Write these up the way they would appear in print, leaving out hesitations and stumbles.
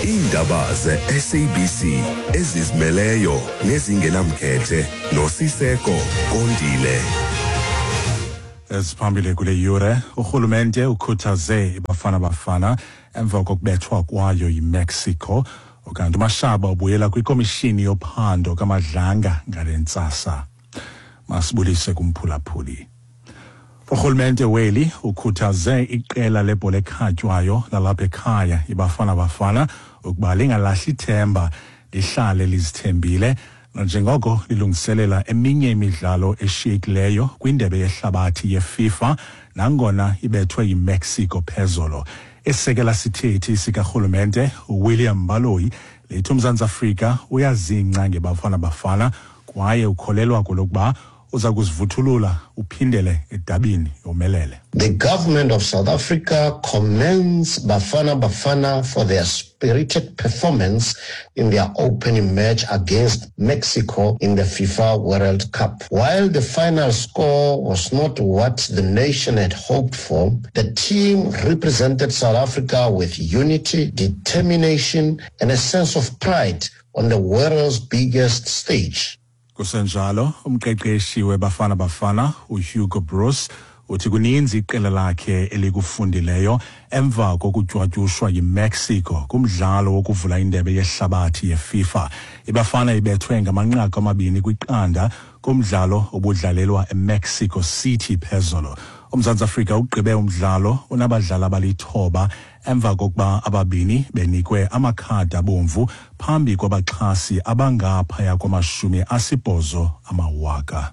Iindaba ze-SABC ezizimeleyo nezingenamkhethe noSiseko Kondile. Eziphambili kule yure: urhulumente ukhuthaze iBafana Bafana emva kokubethwa kwayo yiMexico, ukanti uMashaba ubuyela kwikomishini yophando kaMadlanga ngale ntsasa. Masibulise kumphulaphuli. Urhulumente weli ukhuthaze iqela lebhola ekhatywayo lalapha ekhaya iBafana Bafana ukuba lingalahli ithemba, lihlale lizithembile nanjengoko lilungiselela eminye imidlalo eshiyekileyo kwindebe yehlabathi yeFIFA, nangona ibethwe yiMexico phezolo. Esekela sithethi sikarhulumente uWilliam Baloyi lithi uMzantsi Afrika uyazingca ngeBafana Bafana kwaye ukholelwa kwelokuba uza kuzivuthulula uphindele edabini yomelele. The government of South Africa commends Bafana Bafana for their spirited performance in their opening match against Mexico in the FIFA World Cup. While the final score was not what the nation had hoped for, the team represented South Africa with unity, determination, and a sense of pride on the world's biggest stage. Kusenjalo, umqeqeshi weBafana Bafana uHugo Broos uthi kuninzi iqela lakhe elikufundileyo emva kokutywatyushwa yiMexico kumdlalo wokuvula indebe yehlabathi yeFIFA. IBafana ibethwe ngamanqaku 2-0 kumdlalo obudlalelwa eMexico City phezolo. UMzantsi Afrika ugqibe umdlalo unabadlali abali-9 emva kokuba ababini benikwe amakhadi abomvu phambi kwabaxhasi abangaphaya kwama-80 000.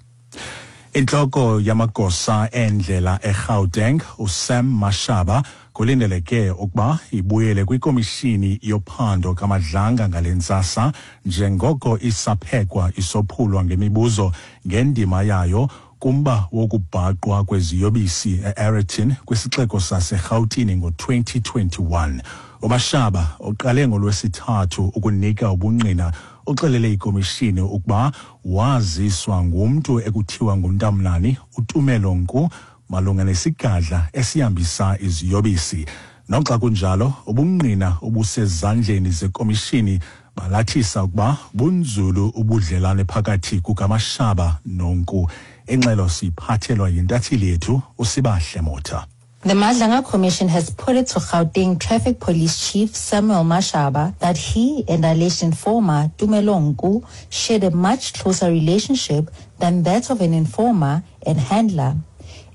Intloko yamagosa endlela eGauteng uSam Mashaba kulindeleke ukuba ibuyele kwikomishini yophando kaMadlanga ngale ntsasa njengoko isaphekwa isophulwa ngemibuzo ngendima yayo kumba wokubhaqwa kweziyobisi e-Aeroton kwisixeko saseRhawutini ngo-2021. UMashaba uqale ngoLwesithathu ukunika ubungqina, uxelele ikomishini ukuba waziswa ngumntu ekuthiwa nguNtamnani uTumelo Nku malunga nesigadla esihambisa iziyobisi. Noxa kunjalo, ubungqina obusezandleni zekomishini balathisa ukuba bunzulu ubudlelane phakathi kukaMashaba noNku. Ingxelo siyiphathelwa yintatheli yethu uSibahle Motha. The Madlanga Commission has put it to Gauteng Traffic Police Chief Samuel Mashaba that he and alleged informer Tumelo Nku shared a much closer relationship than that of an informer and handler.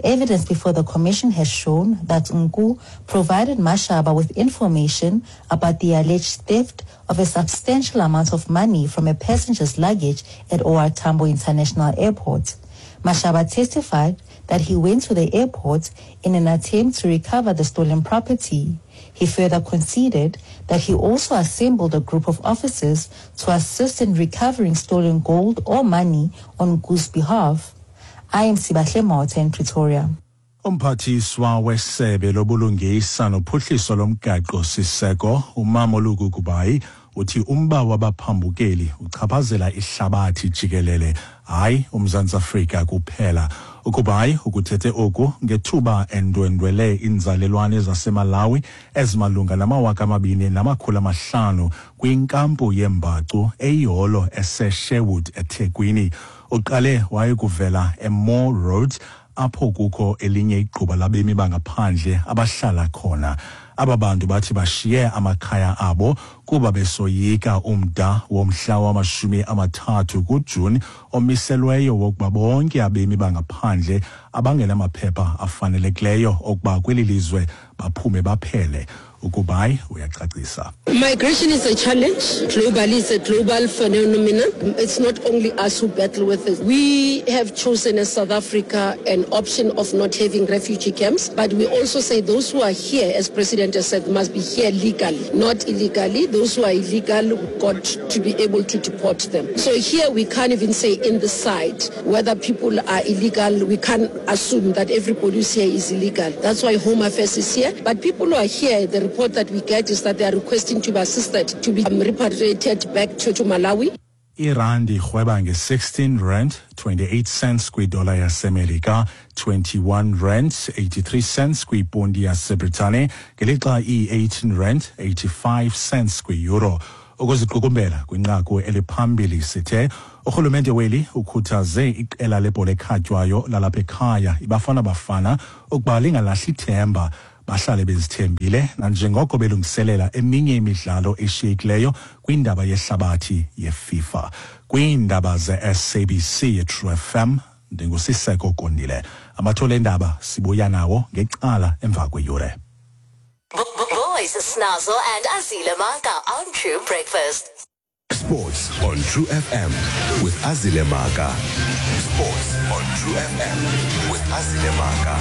Evidence before the commission has shown that Nku provided Mashaba with information about the alleged theft of a substantial amount of money from a passenger's luggage at OR Tambo International Airport. Mashaba testified that he went to the airport in an attempt to recover the stolen property. He further conceded that he also assembled a group of officers to assist in recovering stolen gold or money on Nku's behalf. I am Sibahle Motha in Pretoria. Umphathiswa wesebe lobulungisa nophuhliso lomgaqo siseko uMamoloko Kubayi uthi umba wabaphambukeli uchaphazela ihlabathi jikelele, hayi uMzantsi Afrika kuphela. UKubayi ukuthethe oku ngethuba endwendwele inzalelwane zaseMalawi ezimalunga nama-2500 kwinkampu yembacu eyiholo eseSherwood eThekwini. Uqale wayekuvela eMoore Road apho kukho elinye igquba labemi bangaphandle abahlala khona. Aba bantu bathi bashiye amakhaya abo kuba besoyika umda womhla wama-30 kuJuni omiselweyo wokuba bonke abemi bangaphandle abangenamaphepha afanelekileyo okuba kweli lizwe baphume baphele. UKubayi uyacacisa. Migration is a challenge. Globally, it's a global phenomenon. It's not only us who battle with it. We have chosen as South Africa an option of not having refugee camps, but we also say those who are here, as President has said, must be here legally, not illegally. Those who are illegal, we've got to be able to deport them. So here we can't even say in the site whether people are illegal. We can't assume that everybody who's here is illegal. That's why Home Affairs is here. But people who are here, the report that we get is that they are requesting to be assisted to be repatriated back to Malawi. Irandi irhweba nge-16 rand 28 cents kwidola yaseMelika, 21 rand 83 cents kwiponti yaseBritane, ngelixa iyi-18 rand 85 cents kwi-euro. Ukuziqukumbela kwinqaku eliphambili sithe urhulumente weli ukhuthaze iqela lebhola ekhatywayo lalapha ekhaya iBafana Bafana ukuba lingalahli ithemba, bahlale bezithembile nanjengoko belungiselela eminye imidlalo eshiyekileyo kwindaba yehlabathi yeFIFA. Kwiindaba ze-SABC yeTrue FM, ndinguSiseko Kondile. Amathole endaba sibuya nawo ngecala emva kweyure. Boys, Snazzle and Azile Maka on True Breakfast. Sports on True FM with Azile Maka. Sports on True FM with Azile Maka.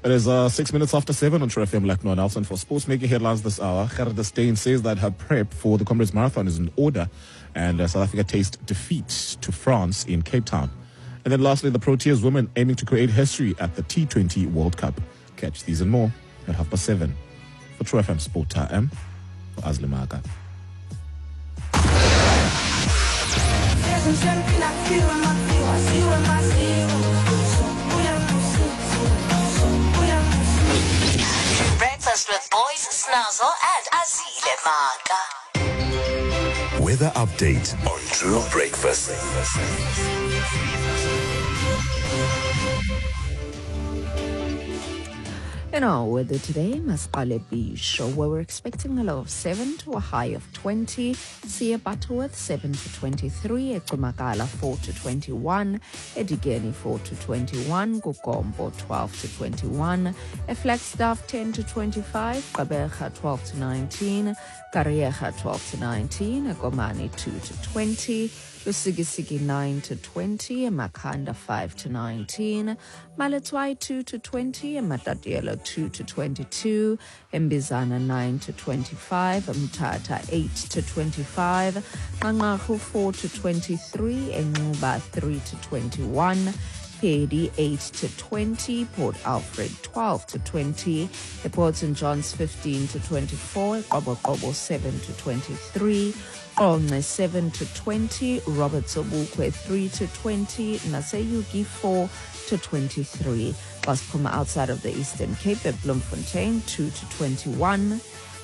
It is 7:06 on True FM. Like Noah Nelson for sports making headlines this hour. Gerda Steyn says that her prep for the Comrades Marathon is in order, and South Africa tastes defeat to France in Cape Town. And then lastly, the Proteas women aiming to create history at the T20 World Cup. Catch these and more at 7:30. For True FM Sport Time, for Azle Maka. Breakfast with Boys, Snazzle and Azile Maka. Weather update on True Breakfast. In our weather today, Masqale Beach, where we're expecting a low of 7 to a high of 20. Siya Butterworth 7 to 23, Ecumakala 4 to 21, Edigeni 4 to 21, Gugombo 12 to 21, Flagstaff 10 to 25, Gqeberha 12 to 19, Kariega 12 to 19, Gomani 2 to 20, Lusikisiki 9 to 20, Makhanda 5 to 19, Maletswai 2 to 20, Matatiele 2 to 22, Mbizana 9 to 25, Mthatha 8 to 25, Nqanqarhu 4 to 23, Enquba 3 to 21, Peddie 8 to 20, Port Alfred 12 to 20, Port St. John's 15 to 24, Qoboqobo 7 to 23, Qonce 7 to 20, Robert Sobukwe 3 to 20, Naseyuki 4 to 23. Xa siphuma outside of the Eastern Cape at Bloemfontein 2 to 21,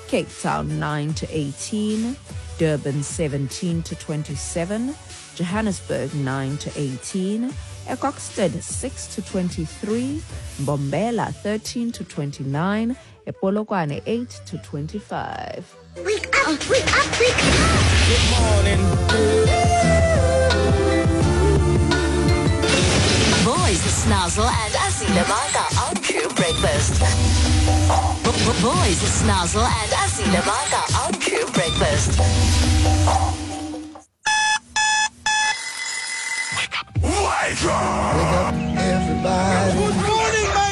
Cape Town 9 to 18, Durban 17 to 27, Johannesburg 9 to 18, Ekokstad 6 to 23, Mbombela 13 to 29, Epolokwane 8 to 25. Wake up, wake up, wake up! Good morning. Boys, Snazzle and Azile Maka on True Breakfast. Boys, Snazzle and Azile Maka on True Breakfast. Wake up. Wake up! Wake up, everybody.